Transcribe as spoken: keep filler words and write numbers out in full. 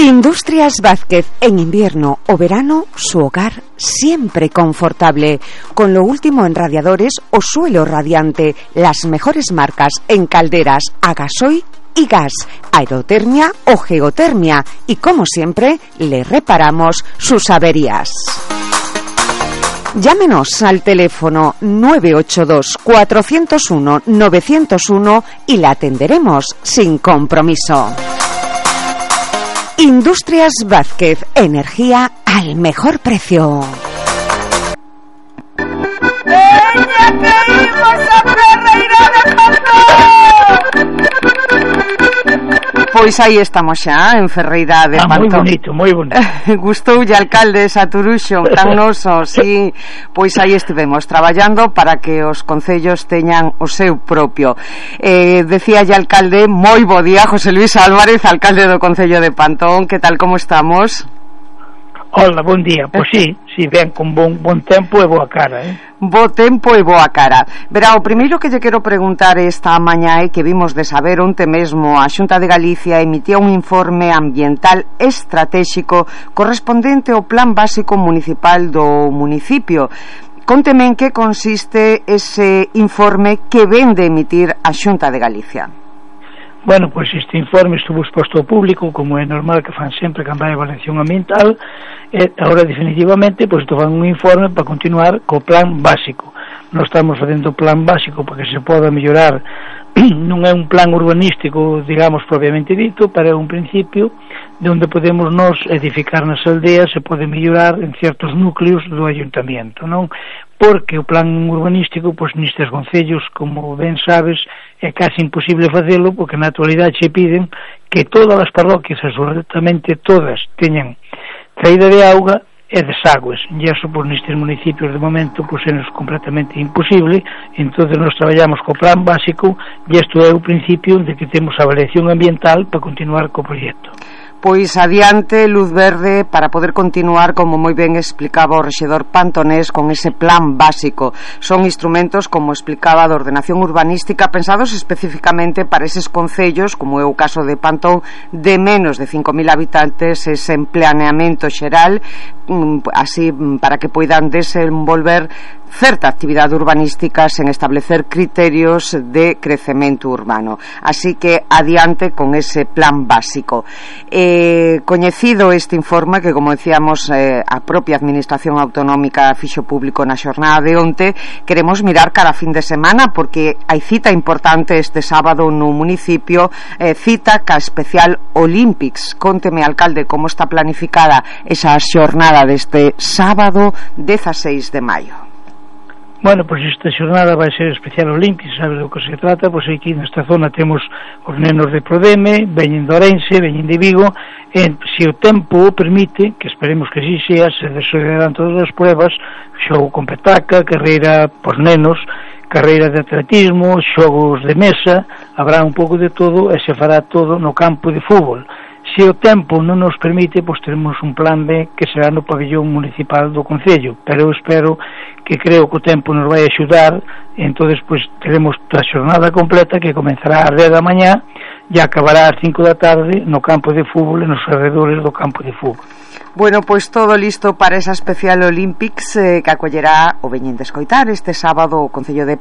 Industrias Vázquez, en invierno o verano, su hogar siempre confortable, con lo último en radiadores o suelo radiante, las mejores marcas en calderas a gasoil y gas, aerotermia o geotermia, y como siempre, le reparamos sus averías. Llámenos al teléfono nueve ocho dos, cuatro cero uno, nueve cero uno y la atenderemos sin compromiso. Industrias Vázquez, energía al mejor precio. ¡Ella que imos a Ferreira de Pantón! Pois aí estamos xa, en Ferreira de ah, Pantón. Moi bonito, moi bonito. Gustoulle, alcalde, Saturuxo, tan noso, sí. Pois aí estivemos traballando para que os concellos teñan o seu propio. Eh, decía ya, alcalde, moi bo día, José Luis Álvarez, alcalde do Concello de Pantón. Que tal, como estamos? Hola, bon día. Pois sí, sí, ben, con bon, bon tempo e boa cara, eh? Bo tempo e boa cara. Verá, o primeiro que lle quero preguntar esta mañá é que vimos de saber onte mesmo a Xunta de Galicia emitía un informe ambiental estratégico correspondente ao Plan Básico Municipal do municipio. Conteme en que consiste ese informe que ven de emitir a Xunta de Galicia. Bueno, pois este informe estuvo exposto ao público, como é normal que fan sempre cando hai evaluación ambiental, e agora definitivamente pois fan un informe para continuar co plan básico. Nós estamos facendo o plan básico para que se poda mellorar. Non é un plan urbanístico, digamos, propiamente dito, pero é un principio de onde podemos nos edificar nas aldeas e pode mellorar en certos núcleos do ayuntamiento, non? Porque o plan urbanístico, pois nestes concellos, como ben sabes, é casi imposible facelo, porque na actualidade se piden que todas as parroquias, absolutamente todas, teñan traída de auga e desagües, e iso pois nestes municipios de momento pois é completamente imposible. Entonces nós traballamos co plan básico e isto é o principio de que temos a avaliación ambiental para continuar co proxecto. Pois adiante, luz verde para poder continuar, como moi ben explicaba o rexedor pantonés, con ese plan básico. Son instrumentos, como explicaba, de ordenación urbanística pensados especificamente para eses concellos, como é o caso de Pantón, de menos de cinco mil habitantes, ese planeamento xeral, así para que poidan desenvolver certa actividade urbanística sen establecer criterios de crecemento urbano. Así que adiante con ese plan básico. Eh, coñecido este informe, que como decíamos eh, a propia Administración Autonómica fixo público na xornada de onte, queremos mirar cara a fin de semana, porque hai cita importante este sábado no municipio, eh, cita ca especial Olympics. Conteme, alcalde, como está planificada esa xornada deste sábado dezaseis de maio. Bueno, pois esta xornada vai ser especial Olympics, sabes do que se trata? Pois aquí nesta zona temos os nenos de Prodeme, veñen de Ourense, veñen de Vigo, e se o tempo o permite, que esperemos que así sea, se desarrollarán todas as pruebas, xogo con petaca, carreira por nenos, carreira de atletismo, xogos de mesa, habrá un pouco de todo e se fará todo no campo de fútbol. Se o tempo non nos permite, pois teremos un plan B que será no pabellón municipal do Concello, pero eu espero que creo que o tempo nos vai axudar, e entonces pois teremos a xornada completa que comenzará ás dez da mañá e acabará ás cinco da tarde no campo de fútbol e nos alrededores do campo de fútbol. Bueno, pois todo listo para esa especial Olympics eh, que acollerá o veñen de escoitar este sábado o Concello de